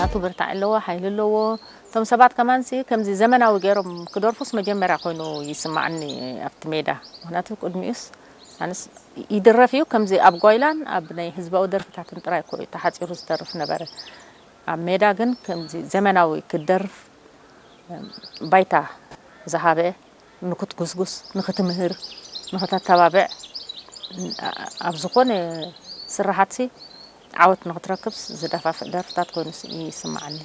ኣቱ ብርታዕ ኣለዎ፣ ሓይሊ ኣለዎ። እቶም ሰባት ከማንሲ ከምዚ ዘመናዊ ገይሮም ክደርፉስ መጀመርያ ኮይኑ ይስማዓኒ ኣብቲ ሜዳ። ምኽንያቱ ቅድሚኡስ ኣነስ ይድረፍ እዩ፣ ከምዚ ኣብ ጓይላን ኣብ ናይ ህዝባዊ ደርፍታትን ጥራይ እኮ እዩ ተሓጺሩ ዝተርፍ ነበረ። ኣብ ሜዳ ግን ከምዚ ዘመናዊ ክደርፍ ባይታ ዝሃበ፣ ንክትጉስጉስ፣ ንክትምህር፣ ንክተተባብዕ፣ ኣብ ዝኾነ ስራሓትሲ ዓወት ንክትረክብስ ዝደፋፍእ ደርፍታት ኮይኑ ይስማዓኒ።